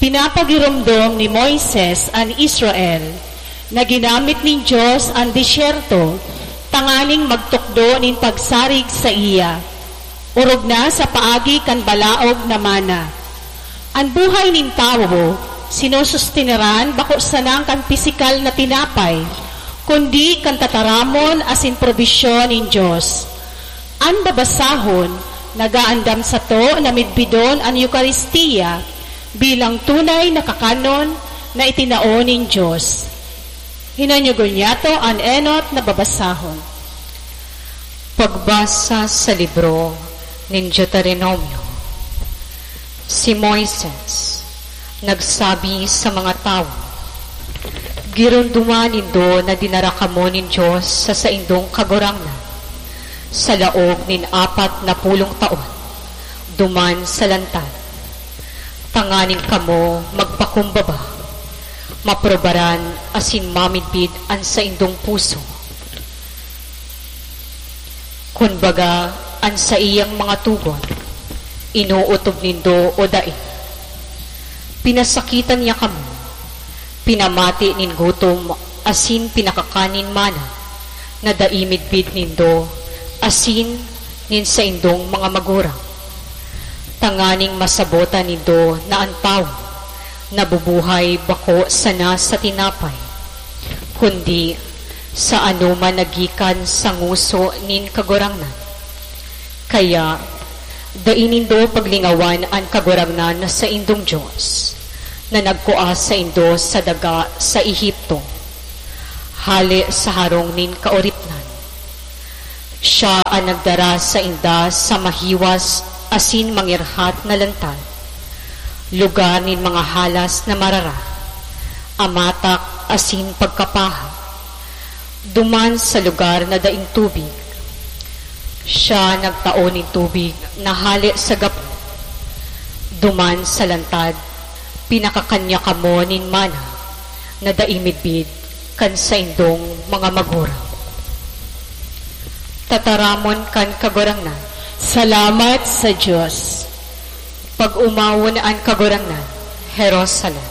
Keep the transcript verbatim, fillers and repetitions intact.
Pinapagiromdom ni Moises an Israel na ginamit nin Dios an disyerto tanganing magtukdo nin pagsarig saiya, orog na sa paagi kan balaog na mana. An buhay nin tawo sinusustineran bako sanang kan pisikal na tinapay, kundi kan tataramon asin probisyon nin Dios. An babasahon nagaandam sato na midbidon an Eukaristia bilang tunay na kakanon na itinao nin Dios. Hinanyugon niyato an enot na babasahon. Pagbasa sa libro nin Deuteronomio. Si Moises nagsabi sa mga tawo, "Giromdoman nindo na dinara kamo nin Dios sa saindong Kagurangnan sa laog nin apat na pulong taon duman sa lantad, tanganing kamo magpakumbaba, maprobaran asin mamidbid an saindong puso. Kun baga, an saiyang mga tugon, inootob nindo o dai. Pinasakitan niya kamo, pinamati nin gutom asin pinakakan nin mana na dai midbid nindo asin nin saindong mga magurang, tanganing masabotan nindo na an tawo nabubuhay bako sana sa tinapay, kundi sa anoman na gikan sa ngoso nin Kagurangnan. Kaya, dai nindo paglingawan an Kagurangnan na saindong Dios, na nagkua saindo sa daga sa Egipto, hale sa harong nin kaoripnan. Siya an nagdara sainda sa mahiwas asin mangirhat na lantad, lugar nin mga halas na marara, amatak asin pagkapaha, duman sa lugar na daing tubig. Siya nagtao nin tubig na hale sa gapo. Duman sa lantad, pinakakan niya kamo nin mana na dai midbid kan saindong mga magurang." Tataramon kan Kagurangnan. Salamat sa Dios. Pag-omawon an Kagurangnan, Jerusalem.